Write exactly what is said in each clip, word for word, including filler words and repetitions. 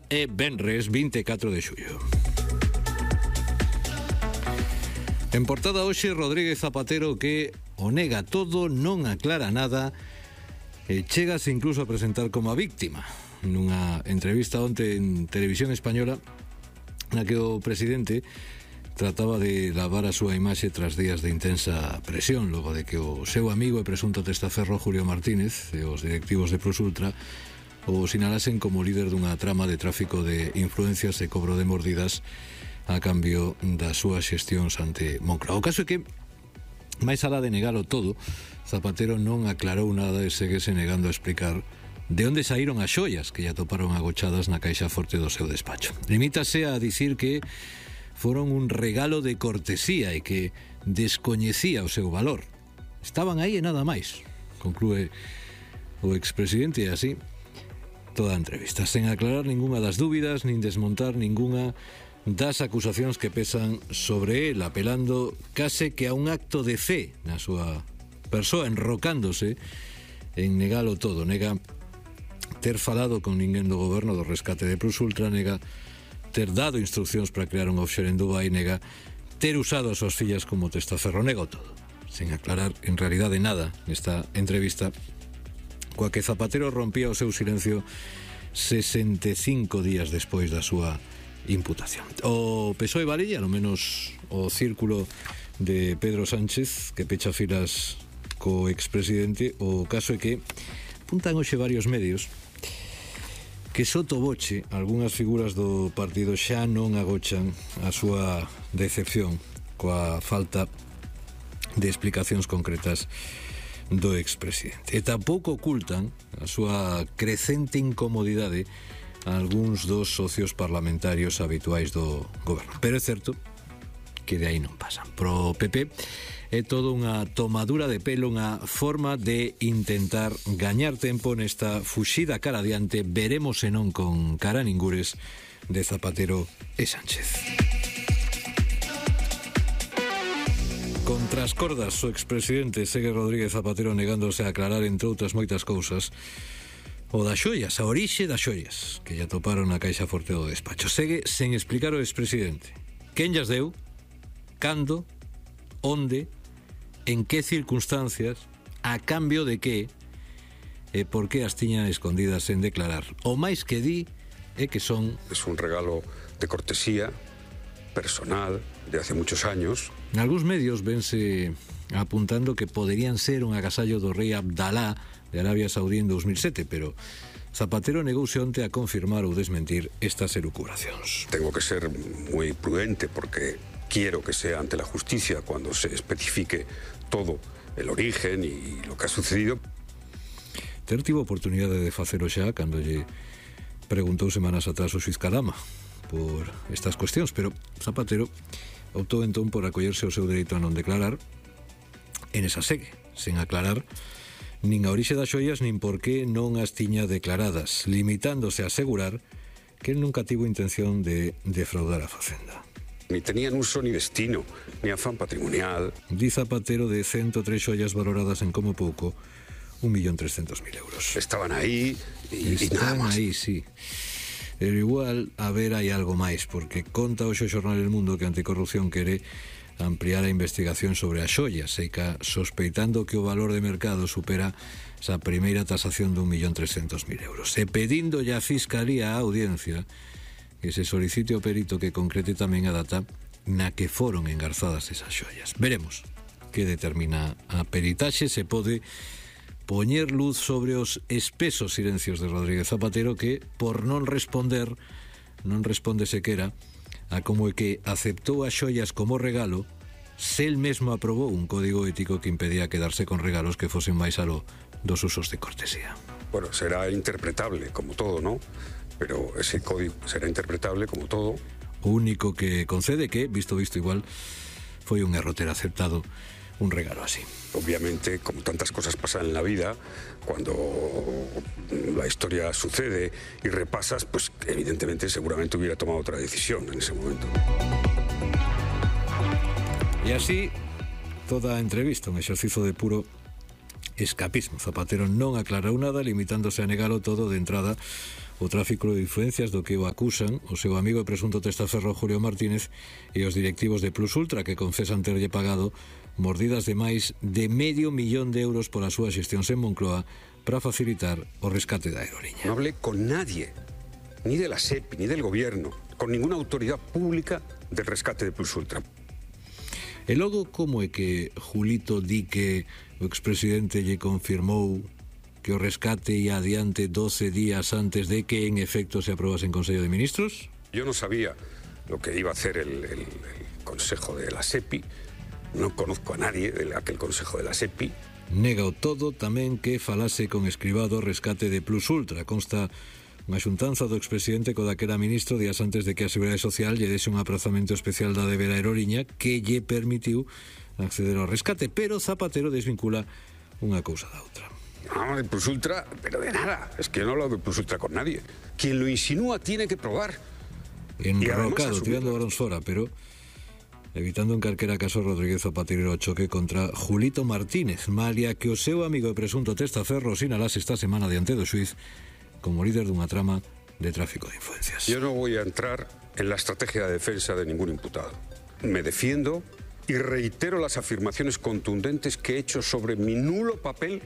día é venres vinte e catro de xullo. En portada hoxe, Rodríguez Zapatero que o nega todo, non aclara nada e chegase incluso a presentar como a víctima. Nunha entrevista onte en Televisión Española na que o presidente trataba de lavar a súa imaxe tras días de intensa presión, logo de que o seu amigo e presunto testaferro Julio Martínez e os directivos de Prosultra o sinalasen como líder dunha trama de tráfico de influencias e cobro de mordidas a cambio das súas xestións ante Moncloa. O caso é que, máis alá de negalo todo, Zapatero non aclarou nada e seguese negando a explicar de onde saíron as xoias que lle atoparon agochadas na caixa forte do seu despacho. Limítase a dicir que foron un regalo de cortesía e que descoñecía o seu valor. Estaban aí e nada máis, conclúe o expresidente, e así toda a entrevista, sen aclarar ningunha das dúbidas nin desmontar ningunha das acusacións que pesan sobre el, apelando case que a un acto de fe na súa persoa, enrocándose en negalo todo. Nega ter falado con ninguén do goberno do rescate de Prosultra, nega ter dado instruccións para crear un offshore en Dubai, nega ter usado as súas fillas como testaferro, nego todo, sen aclarar en realidade nada nesta entrevista, coa que Zapatero rompía o seu silencio sesenta e cinco días despois da súa imputación. O P S O E valilla, ao menos o círculo de Pedro Sánchez, que pecha filas co expresidente. O caso é que apuntan hoxe varios medios que sotoboche algunhas figuras do partido xa non agochan a súa decepción coa falta de explicacións concretas do expresidente, e tampouco ocultan a súa crecente incomodidade a algúns dos socios parlamentarios habituais do goberno. Pero é certo que de aí non pasan. Pro P P é todo unha tomadura de pelo, unha forma de intentar gañar tempo nesta fuxida cara adiante, veremos se non con cara ningures, de Zapatero e Sánchez. Contra as cordas, o expresidente segue Rodríguez Zapatero negándose a aclarar, entre outras moitas cousas, o das xoias, a orixe das xoias que lle atoparon na caixa forte do despacho. Segue sen explicar o expresidente quen llas deu, cando, onde, en que circunstancias, a cambio de que e por que as tiñan escondidas sen declarar. O máis que di é que son... Es un regalo de cortesía personal de hace muchos años. En algúns medios vense apuntando que poderían ser un agasallo do rei Abdalá de Arabia Saudí en dos mil sete, pero Zapatero negouse onte a confirmar ou desmentir estas elucubracións. Tengo que ser moi prudente porque quiero que sea ante la justicia cuando se especifique todo el origen y lo que ha sucedido. Ter tivo oportunidade de facelo xa cando lle preguntou semanas atrás o xuiz Calama por estas cuestións, pero Zapatero optou entón por acollerse ao seu dereito a non declarar en esa segue, sen aclarar nin a orixe das xoias nin por que non as tiña declaradas, limitándose a asegurar que nunca tivo intención de defraudar a Facenda. Ni tenían uso ni destino, ni afán patrimonial. Di Zapatero de ciento tres xoias valoradas en como pouco un millón trescentos mil euros. Estaban aí e, e nada Estaban más. aí, sí. Pero igual, a ver, hai algo máis, porque conta hoxe o xornal El Mundo que Anticorrupción quere ampliar a investigación sobre as xoias, e ca sospeitando que o valor de mercado supera esa primeira tasación de un millón trescentos mil euros. E pedindo ya a Fiscalía a audiencia que se solicite ao perito que concrete tamén a data na que foron engarzadas esas xoias. Veremos que determina a peritaxe, se pode poñer luz sobre os espesos silencios de Rodríguez Zapatero, que, por non responder, non responde sequera a como é que aceptou as xoias como regalo, se el mesmo aprobou un código ético que impedía quedarse con regalos que fosen máis aló dos usos de cortesía. Bueno, será interpretable como todo, ¿no? Pero ese código será interpretable como todo. O único que concede que, visto visto igual, foi un erro ter aceptado un regalo así. Obviamente, como tantas cosas pasan en la vida, cuando la historia sucede y repasas, pues evidentemente seguramente hubiera tomado otra decisión en ese momento. E así, toda a entrevista, un exercizo de puro escapismo. Zapatero non aclarou nada, limitándose a negalo todo de entrada. o tráfico de influencias do que o acusan o seu amigo e presunto testaferro Julio Martínez e os directivos de Plus Ultra, que confesan terlle pagado mordidas de máis de medio millón de euros pola súa xestión en Moncloa para facilitar o rescate da aerolínea. No hablé con nadie, ni de la SEPI, ni del gobierno, con ninguna autoridad pública del rescate de Plus Ultra. E logo, como é que Julito di que o expresidente lle confirmou que o rescate ia adiante doce días antes de que en efecto se aprobase en Consello de Ministros? Yo no sabía lo que iba a hacer el, el, el Consejo de la SEPI, no conozco a nadie de aquel Consejo de la SEPI. Nega o todo tamén que falase con Escrivá do rescate de Plus Ultra. Consta unha xuntanza do expresidente co daquera ministro días antes de que a Seguridade Social lle dese un aprazamento especial da débeda aerolínea que lle permitiu acceder ao rescate, pero Zapatero desvincula unha cousa da outra. No, de Plus Ultra, pero de nada. Es que yo no hablo de Plus Ultra con nadie. Quien lo insinúa tiene que probar. Enrocado, tirando balóns fora, pero evitando en calquera caso Rodríguez Zapatero o choque contra Julito Martínez, malia que o seu amigo e presunto testaferro sinalase esta semana diante do xuiz como líder dunha trama de tráfico de influencias. Yo no voy a entrar en la estrategia de defensa de ningún imputado. Me defiendo y reitero las afirmaciones contundentes que he hecho sobre mi nulo papel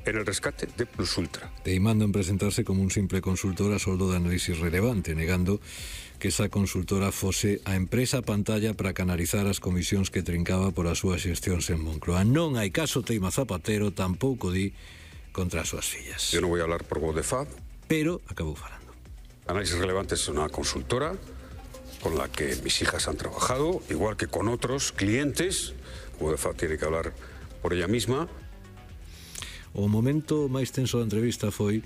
en el rescate de Plus Ultra. Teimando en presentarse como un simple consultor a soldo de análisis relevante, negando que esa consultora fose a empresa pantalla para canalizar as comisións que trincaba por as súas xestións en Moncloa. Non hai caso teima Zapatero, tampouco di contra as súas fillas. Yo no voy a hablar por voz de F A B. Pero acabou falando. Análisis Relevante es una consultora con la que mis hijas han trabajado, igual que con otros clientes. U D F A B tiene que hablar por ella misma. O momento máis tenso da entrevista foi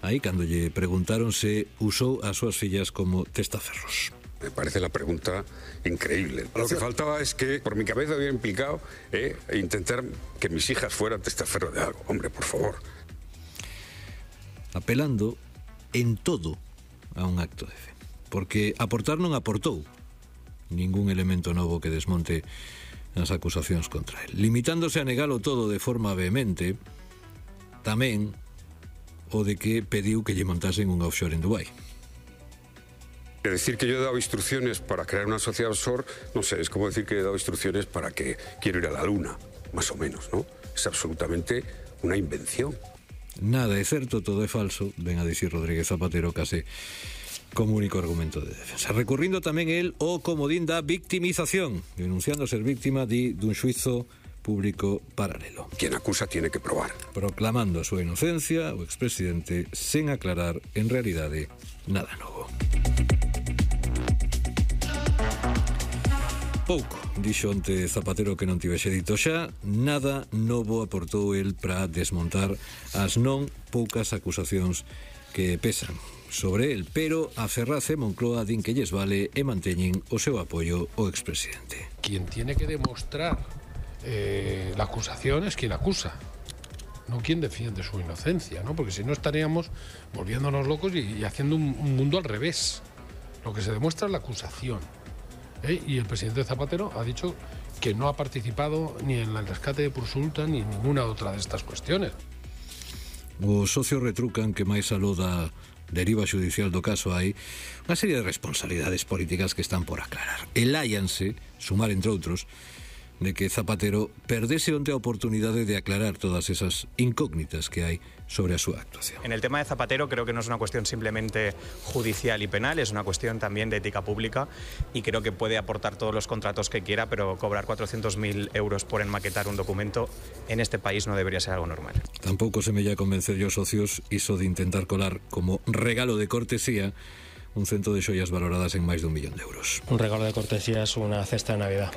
aí cando lle preguntaron se usou as súas fillas como testaferros. Me parece la pregunta increíble. Lo que faltaba es que por mi cabeza hubiera implicado eh, intentar que mis hijas fueran testaferros de algo. Hombre, por favor. Apelando en todo a un acto de fe. Porque aportar non aportou ningún elemento novo que desmonte as acusacións contra él. Limitándose a negalo todo de forma vehemente, tamén o de que pediu que lle montasen un offshore en Dubái. De decir que yo he dado instrucciones para crear una sociedad offshore, no sé, es como decir que he dado instrucciones para que quiero ir a la luna, más o menos, ¿no? Es absolutamente una invención. Nada é certo, todo é falso, ven a dicir Rodríguez Zapatero case como único argumento de defensa. Recurrindo tamén el o comodín da victimización, denunciando ser víctima de, dun xuizo público paralelo. Quien acusa tiene que probar. Proclamando a súa inocencia, o expresidente sen aclarar en realidade nada novo. Pouco, dixo onte Zapatero que non tivese dito xa, nada novo aportou el para desmontar as non poucas acusacións que pesan sobre el, pero a Ferraz e Moncloa din que lles vale e manteñen o seu apoio ao expresidente. Quien tiene que demostrar eh, la acusación es quien acusa, no quien defiende su inocencia, ¿no? Porque si no estaríamos volviéndonos locos y, y haciendo un, un mundo al revés. Lo que se demuestra es la acusación. ¿eh? Y el presidente Zapatero ha dicho que no ha participado ni en el rescate de Plus Ultra ni en ninguna otra de estas cuestiones. Os socios retrucan que máis aló da deriva judicial do caso hai unha serie de responsabilidades políticas que están por aclarar. Eláianse, sumar entre outros, de que Zapatero perdese onte a oportunidade de aclarar todas esas incógnitas que hai sobre a súa actuación. En el tema de Zapatero creo que no es una cuestión simplemente judicial y penal, es una cuestión también de ética pública y creo que puede aportar todos los contratos que quiera, pero cobrar cuatrocientos mil euros por enmaquetar un documento en este país no debería ser algo normal. Tampouco se me lla convencer yo socios iso de intentar colar como regalo de cortesía un cento de xoias valoradas en máis dun millón de euros. Un regalo de cortesía es una cesta de Navidad.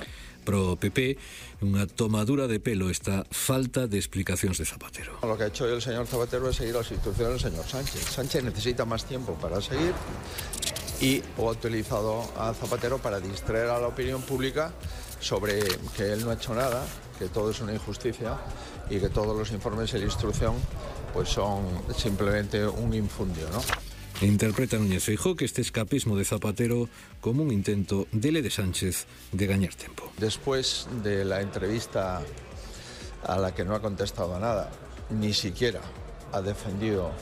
Pro P P, unha tomadura de pelo esta falta de explicacións de Zapatero. Lo que ha hecho el señor Zapatero es seguir las instrucciones del señor Sánchez. Sánchez necesita más tiempo para seguir y ha utilizado a Zapatero para distraer a la opinión pública sobre que él no ha hecho nada, que todo es una injusticia y que todos los informes de la instrucción pues son simplemente un infundio, ¿no? Interpreta Núñez Feijóo que este escapismo de Zapatero como un intento dele de Sánchez de gañar tempo. Después de la entrevista a la que no ha contestado a nada, ni siquiera ha defendido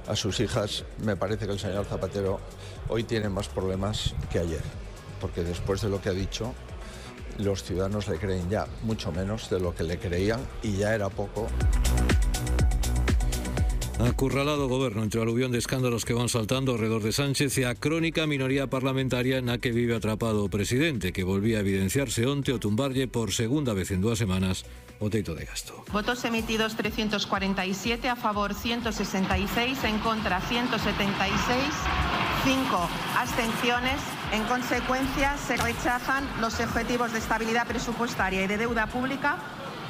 a sus hijas, me parece que el señor Zapatero hoy tiene más problemas que ayer, porque después de lo que ha dicho, los ciudadanos le creen ya mucho menos de lo que le creían y ya era poco. Acurralado goberno entre o aluvión de escándalos que van saltando alrededor de Sánchez e a crónica minoría parlamentaria na que vive atrapado o presidente, que volvía a evidenciarse onte o tumbarlle por segunda vez en dúas semanas o teito de gasto. Votos emitidos trescientos cuarenta y siete, a favor ciento sesenta y seis, en contra ciento setenta y seis, cinco abstenciones. En consecuencia, se rechazan los objetivos de estabilidad presupuestaria y de deuda pública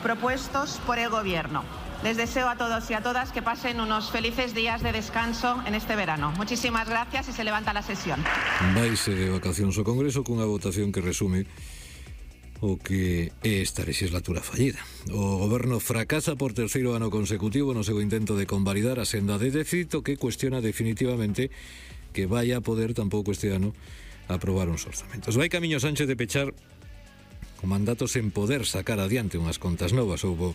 propuestos por el Gobierno. Les deseo a todos y a todas que pasen unos felices días de descanso en este verano. Muchísimas gracias y se levanta la sesión. Vaise de vacacións o Congreso cunha votación que resume o que é esta legislatura fallida. O Goberno fracasa por terceiro ano consecutivo no seu intento de convalidar a senda de déficit, que cuestiona definitivamente que vaya a poder tampouco este ano aprobar uns orzamentos. Vai camiño Sánchez de pechar con mandatos en poder sacar adiante unhas contas novas. Houbo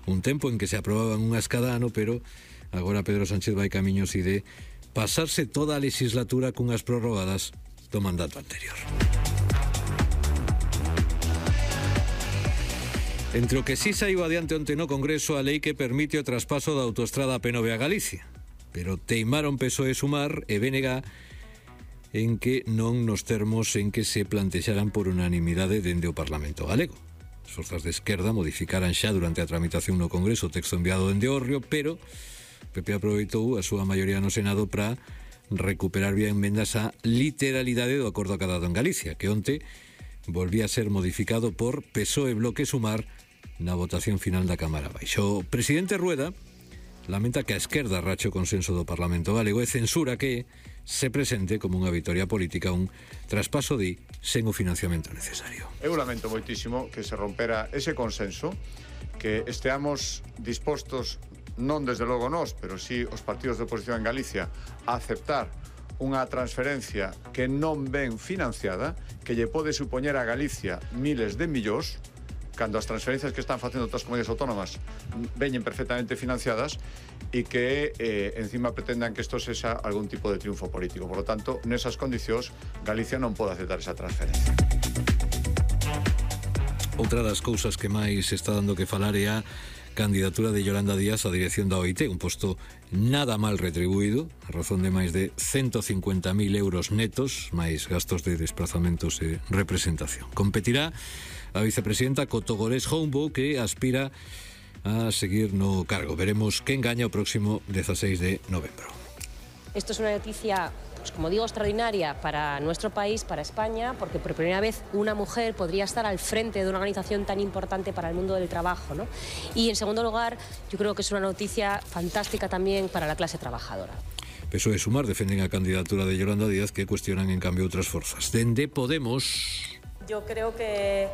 un tempo en que se aprobaban unhas cada ano, pero agora Pedro Sánchez vai camiños e de pasarse toda a legislatura cunhas prorrogadas do mandato anterior. Entre o que sí saiu adiante onte no Congreso a lei que permite o traspaso da autoestrada P nove a Galicia, pero teimaron P S O E, Sumar e B N G en que non nos termos en que se plantexaran por unanimidade dende o Parlamento galego. As forzas de esquerda modificaran xa durante a tramitación no Congreso o texto enviado dende Orrio, pero P P aproveitou a súa maioría no Senado para recuperar vía enmendas a literalidade do acordo acadado en Galicia, que onte volvía a ser modificado por P S O E, Bloque e Sumar na votación final da Cámara Baixa. O presidente Rueda lamenta que a esquerda rache o consenso do Parlamento galego e censura que se presente como unha vitoria política un traspaso de sen o financiamento necesario. Eu lamento moitísimo que se rompera ese consenso, que esteamos dispostos, non desde logo nós, pero sí os partidos de oposición en Galicia, a aceptar unha transferencia que non ven financiada, que lle pode supoñer a Galicia miles de millóns, cando as transferencias que están facendo outras comunidades autónomas veñen perfectamente financiadas, e que eh, encima pretendan que isto sexa algún tipo de triunfo político. Por lo tanto, nesas condicións, Galicia non pode aceptar esa transferencia. Outra das cousas que máis está dando que falar é a candidatura de Yolanda Díaz á dirección da O I T, un posto nada mal retribuído, a razón de máis de ciento cincuenta mil euros netos, máis gastos de desplazamentos e representación. Competirá a vicepresidenta Cotogorés Hombo, que aspira a seguir no cargo. Veremos quen gaña o próximo dieciséis de novembro. Esto es una noticia, pues como digo, extraordinaria para nuestro país, para España, porque por primera vez una mujer podría estar al frente de una organización tan importante para el mundo del trabajo, ¿no? Y en segundo lugar, yo creo que es una noticia fantástica también para la clase trabajadora. P S O E e Sumar defenden a candidatura de Yolanda Díaz, que cuestionan en cambio outras forzas. Dende Podemos... Yo creo que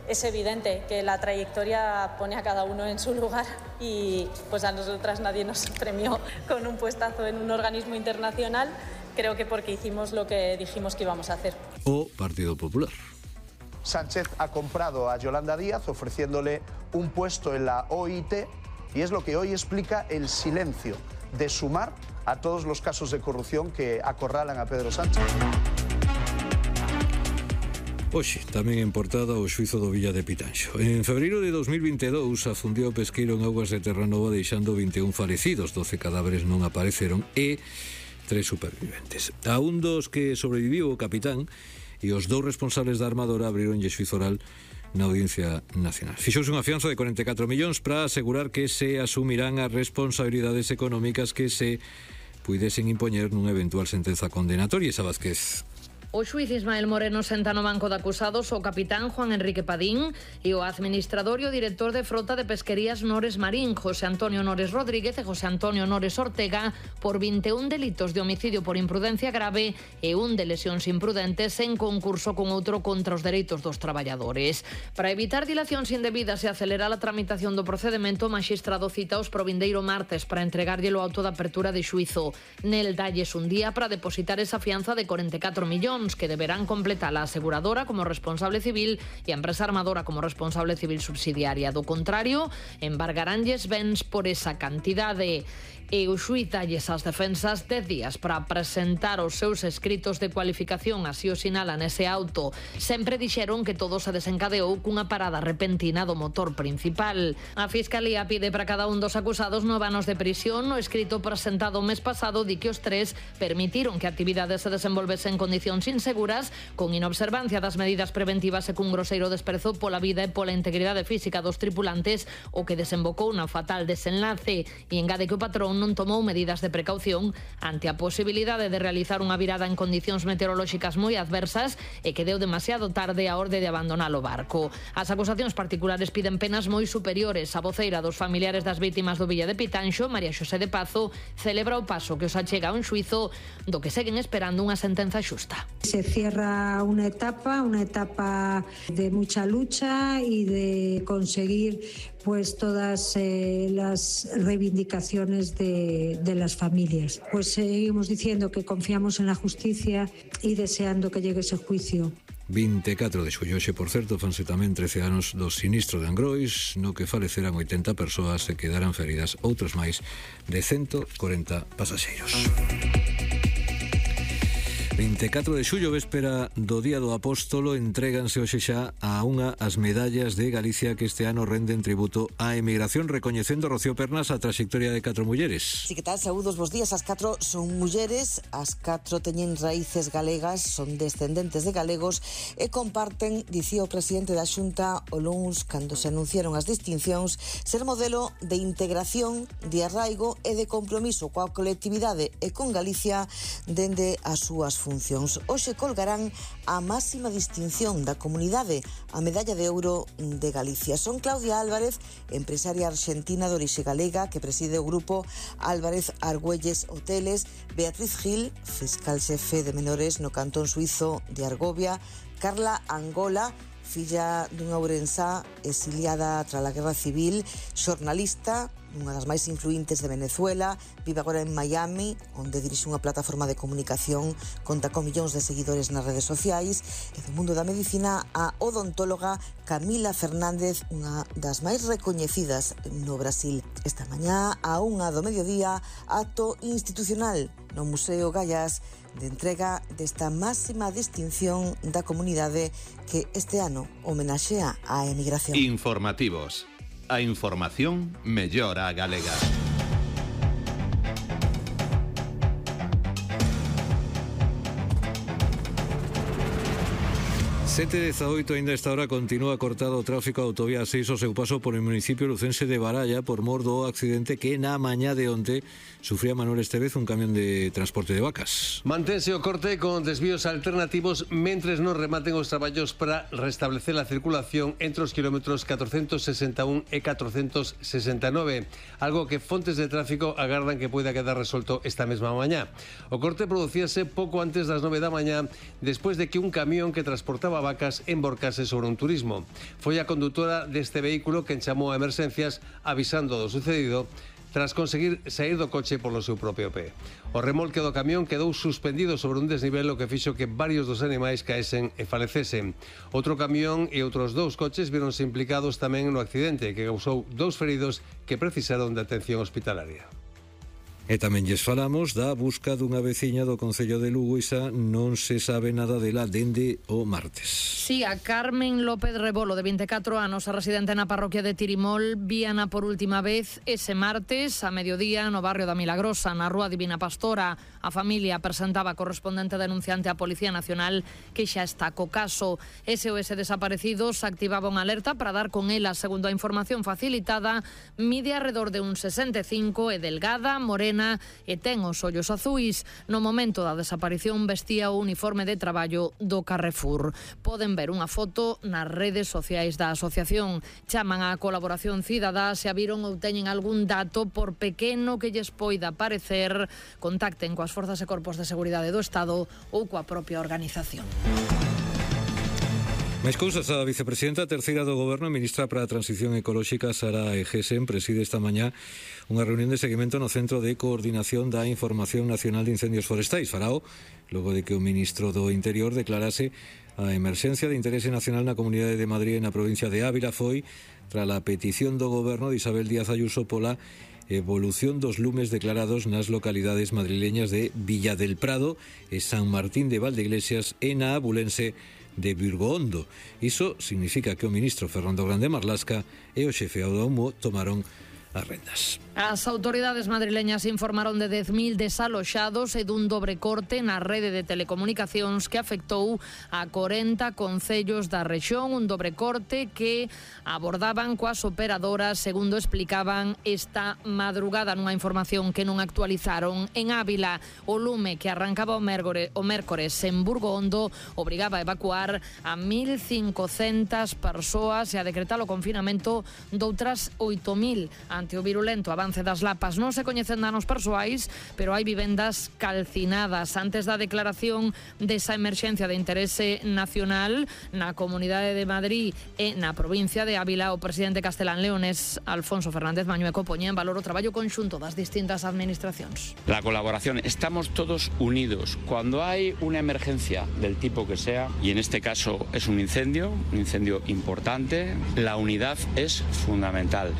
es evidente que la trayectoria pone a cada uno en su lugar y pues a nosotras nadie nos premió con un puestazo en un organismo internacional, creo que porque hicimos lo que dijimos que íbamos a hacer. O Partido Popular. Sánchez ha comprado a Yolanda Díaz ofreciéndole un puesto en la O I T y es lo que hoy explica el silencio de Sumar a todos los casos de corrupción que acorralan a Pedro Sánchez. Hoxe, tamén en portada o xuízo do Villa de Pitanxo. En febreiro de dos mil vinte e dous afundiu o pesqueiro en augas de Terranova deixando vinte e un falecidos, doce cadáveres non apareceron e tres superviventes. A un dos que sobreviviu o capitán e os dous responsables da armadora abrironlle xuízo oral na Audiencia Nacional. Fixouse unha fianza de cuarenta e catro millóns para asegurar que se asumirán as responsabilidades económicas que se puidesen impoñer nunha eventual sentenza condenatoria. Esa Vázquez. O xuíz Ismael Moreno senta no banco de acusados o capitán Juan Enrique Padín e o administrador e o director de frota de pesquerías Nores Marín, José Antonio Nores Rodríguez e José Antonio Nores Ortega, por vinte e un delitos de homicidio por imprudencia grave e un de lesións imprudentes en concurso con outro contra os dereitos dos traballadores. Para evitar dilacións indebidas e acelerar a tramitación do procedemento, o maxistrado cita os provindeiro martes para entregarlle o auto de apertura de xuízo. Nel dalles un día para depositar esa fianza de cuarenta e catro millóns que deberán completar a aseguradora como responsable civil e a empresa armadora como responsable civil subsidiaria. Do contrario, embargaránlles bens por esa cantidade. e o xuíz dalles ás defensas dez días para presentar os seus escritos de cualificación, así o sinala nese auto. Sempre dixeron que todo se desencadeou cunha parada repentina do motor principal. A Fiscalía pide para cada un dos acusados nove anos de prisión. No escrito presentado o mes pasado di que os tres permitiron que a actividade se desenvolvese en condicións inseguras, con inobservancia das medidas preventivas e cun groseiro desprezo pola vida e pola integridade física dos tripulantes, o que desembocou na fatal desenlace, e engade que o patrón non tomou medidas de precaución ante a posibilidade de realizar unha virada en condicións meteorolóxicas moi adversas e que deu demasiado tarde a orde de abandonar o barco. As acusacións particulares piden penas moi superiores. A voceira dos familiares das vítimas do Villa de Pitanxo, María Xosé de Pazo, celebra o paso que os achega a un xuizo do que seguen esperando unha sentenza xusta. Se cierra una etapa, una etapa de mucha lucha y de conseguir pues todas eh, las reivindicaciones de, de las familias. Pues seguimos diciendo que confiamos en la justicia y deseando que llegue ese juicio. vinte e catro de xullo, xe, por certo, fanse tamén trece anos do sinistro de Angrois, no que faleceran oitenta persoas e quedaran feridas outros máis de ciento corenta pasaxeiros. vinte e catro de xullo, véspera do Día do Apóstolo, entréganse hoxe xa a unha as medallas de Galicia que este ano renden tributo á emigración, recoñecendo, Rocío Pernas, a traxectoria de catro mulleres. Si, que tal? Saúdos, bos días. As catro son mulleres, as catro teñen raíces galegas, son descendentes de galegos e comparten, dicía o presidente da Xunta o luns cando se anunciaron as distincións, ser modelo de integración, de arraigo e de compromiso coa colectividade e con Galicia dende as súas funcións. Hoxe colgarán a máxima distinción da comunidade, a medalla de ouro de Galicia. Son Claudia Álvarez, empresaria argentina de orixe galega que preside o grupo Álvarez Argüelles Hoteles, Beatriz Gil, fiscal xefe de menores no cantón suizo de Argovia, Carla Angola, filla dunha ourensá exiliada tras a Guerra Civil, xornalista, unha das máis influíntes de Venezuela, vive agora en Miami, onde dirixe unha plataforma de comunicación, conta con millóns de seguidores nas redes sociais, e do mundo da medicina a odontóloga Camila Fernández, unha das máis recoñecidas no Brasil. Esta mañá, a unha do mediodía, acto institucional no Museo Gallás de entrega desta máxima distinción da comunidade que este ano homenaxea á emigración. Informativos. A información mellora a galega. sete e dezaoito, ainda esta hora continúa cortado o tráfico a autovía seis o seu paso por o municipio lucense de Baralla por mor do accidente que na mañá de onte sufría Manuel Estevez, un camión de transporte de vacas. Mantense o corte con desvíos alternativos mentres non rematen os traballos para restablecer a circulación entre os kilómetros catrocentos sesenta e un e catrocentos sesenta e nove, algo que fontes de tráfico agardan que poida quedar resolto esta mesma mañá. O corte producíase pouco antes das nove da mañá, despois de que un camión que transportaba vacas emborcase sobre un turismo. Foi a condutora deste vehículo quen chamou a emerxencias avisando do sucedido tras conseguir sair do coche polo seu propio pé. O remolque do camión quedou suspendido sobre un desnivel, o que fixo que varios dos animais caesen e falecesen. Outro camión e outros dous coches víronse implicados tamén no accidente, que causou dous feridos que precisaron de atención hospitalaria. E tamén lles falamos da busca dunha veciña do Concello de Lugo. Isa, non se sabe nada dela dende o martes. Sí, a Carmen López Rebolo, de vinte e catro anos, a residente na parroquia de Tirimol, víana por última vez ese martes a mediodía no barrio da Milagrosa, na Rúa Divina Pastora. A familia presentaba a correspondente denunciante á Policía Nacional que xa está co caso. S O S Desaparecidos activaba unha alerta para dar con ela. Segundo a información facilitada, mide alrededor de un sesenta e cinco e delgada, morena e ten os ollos azuis. No momento da desaparición vestía o uniforme de traballo do Carrefour. Poden ver unha foto nas redes sociais da asociación. Chaman á colaboración cidadá se a viron ou teñen algún dato, por pequeno que lles poida parecer. Contacten coas forzas e corpos de seguridade do Estado ou coa propia organización. Máis cousas, a vicepresidenta terceira do Goberno, ministra para a Transición Ecolóxica, Sara Egesen, preside esta mañá unha reunión de seguimento no Centro de Coordinación da Información Nacional de Incendios Forestais. Farao, logo de que o ministro do Interior declarase a emerxencia de interese nacional na Comunidade de Madrid e na provincia de Ávila. Foi tras a petición do Goberno de Isabel Díaz Ayuso pola evolución dos lumes declarados nas localidades madrileñas de Villa del Prado e San Martín de Valdeiglesias e na abulense de Virgohondo. Iso significa que o ministro Fernando Grande Marlasca e o xefe do Aumo tomaron as rendas. As autoridades madrileñas informaron de dez mil desaloxados e dun dobre corte na rede de telecomunicacións que afectou a corenta concellos da rexión, un dobre corte que abordaban coas operadoras, segundo explicaban esta madrugada nunha información que non actualizaron. En Ávila, o lume que arrancaba o mércores, o mércores en Burgohondo obrigaba a evacuar a mil cincocentas persoas e a decretar o confinamento doutras oito mil ante o virulento avance das lapas. Non se coñecen danos persoais, pero hai vivendas calcinadas. Antes da declaración desa emerxencia de interese nacional na Comunidade de Madrid e na provincia de Ávila, o presidente castelán leonés Alfonso Fernández Mañueco poñía en valor o traballo conxunto das distintas administracións. La colaboración, estamos todos unidos. Cuando hay una emergencia del tipo que sea, y en este caso es un incendio, un incendio importante, la unidad es fundamental.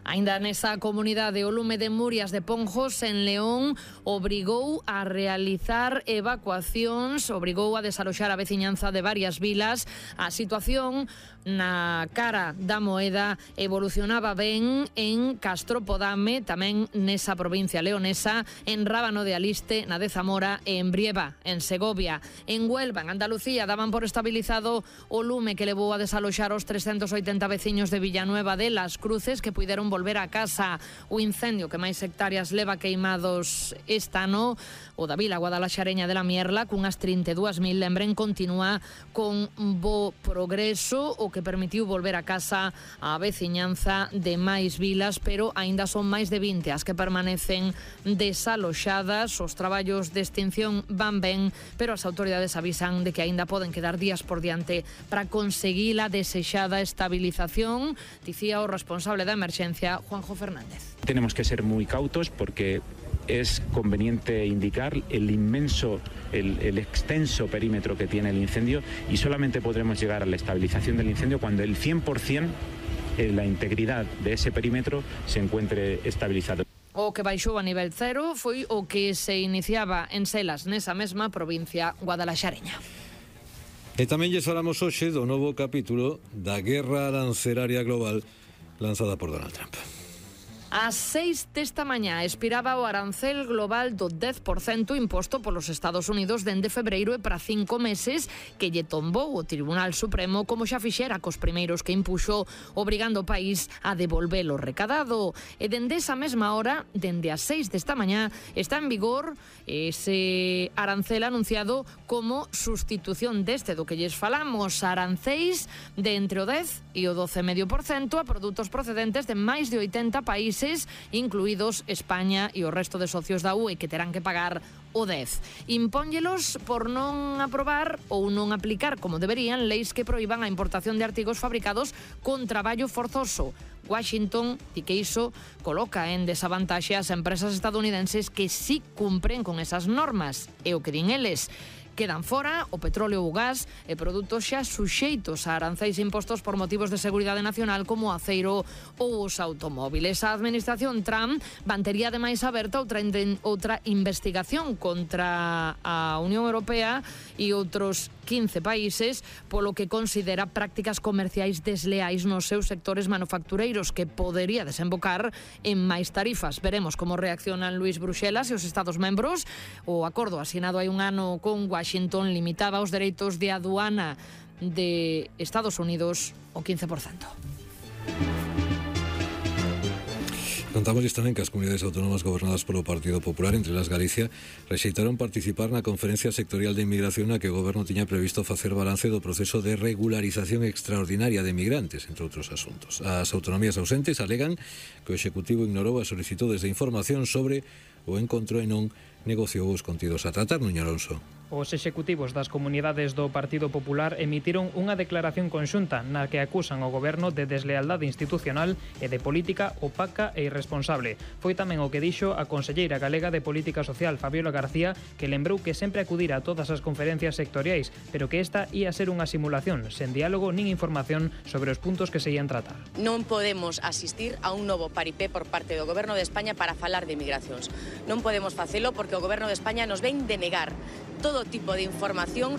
Ainda nesa comunidade, o lume de Murias de Ponjos en León obrigou a realizar evacuacións, obrigou a desaloxar a veciñanza de varias vilas. A situación na cara da Moeda evolucionaba ben en Castropodame, tamén nesa provincia leonesa, en Rábano de Aliste, na de Zamora e en Brieva, en Segovia. En Huelva, en Andalucía, daban por estabilizado o lume que levou a desaloxar os trescentos oitenta veciños de Villanueva de Las Cruces, que puideron volver a casa. O incendio que máis hectáreas leva queimados este ano, o da Vila Guadalaxareña de la Mierla, cunhas trinta e dúas mil, lembren, continúa con bo progreso, o que permitiu volver a casa a veciñanza de máis vilas, pero aínda son máis de vinte as que permanecen desaloxadas. Os traballos de extinción van ben, pero as autoridades avisan de que aínda poden quedar días por diante para conseguir a desexada estabilización, dicía o responsable da emerxencia, Juanjo Fernández. Tenemos que ser muy cautos porque es conveniente indicar el inmenso, el, el extenso perímetro que tiene el incendio, y solamente podremos llegar a la estabilización del incendio cuando el cien por ciento de la integridad de ese perímetro se encuentre estabilizado. O que baixou a nivel cero foi o que se iniciaba en Selas, nesa mesma provincia guadalaxareña. E tamén lles falamos hoxe do novo capítulo da guerra arancelaria global lanzada por Donald Trump. Ás seis desta mañá expiraba o arancel global do dez por cento imposto polos Estados Unidos dende febreiro e para cinco meses, que lle tombou o Tribunal Supremo, como xa fixera cos primeiros que impuxo, obrigando o país a devolver o recadado. E dende esa mesma hora, dende as seis desta mañá, está en vigor ese arancel anunciado como sustitución deste do que lles falamos, aranceis de entre o dez e o doce coma cinco por cento a produtos procedentes de máis de oitenta países, incluídos España e o resto de socios da U E, que terán que pagar o dez. Impónllelos por non aprobar ou non aplicar como deberían leis que proíban a importación de artigos fabricados con traballo forzoso. Washington di que iso coloca en desavantaxe as empresas estadounidenses que sí cumpren con esas normas. E o que din eles, quedan fora o petróleo, o gas e produtos xa suxeitos a aranceis impostos por motivos de seguridade nacional como o aceiro ou os automóviles. A administración Trump mantería ademais aberta outra, outra investigación contra a Unión Europea e outros quince países polo que considera prácticas comerciais desleais nos seus sectores manufactureiros, que podería desembocar en máis tarifas. Veremos como reaccionan Luis Bruxelas e os Estados membros. O acordo asinado hai un ano con Washington limitaba os dereitos de aduana de Estados Unidos ao quince por cento. Contámosles tamén que as comunidades autónomas gobernadas polo Partido Popular, entre las Galicia, rexeitaron participar na conferencia sectorial de inmigración na que o goberno tiña previsto facer balance do proceso de regularización extraordinaria de migrantes, entre outros asuntos. As autonomías ausentes alegan que o Executivo ignorou as solicitudes de información sobre o encontro e non negociou os contidos a tratar. Nuño Alonso. Os executivos das comunidades do Partido Popular emitiron unha declaración conxunta na que acusan o goberno de deslealdade institucional e de política opaca e irresponsable. Foi tamén o que dixo a conselleira galega de Política Social, Fabiola García, que lembrou que sempre acudira a todas as conferencias sectoriais, pero que esta ia ser unha simulación, sen diálogo nin información sobre os puntos que se ían tratar. Non podemos asistir a un novo paripé por parte do Goberno de España para falar de migracións. Non podemos facelo porque o Goberno de España nos ven denegar todo tipo de información sobre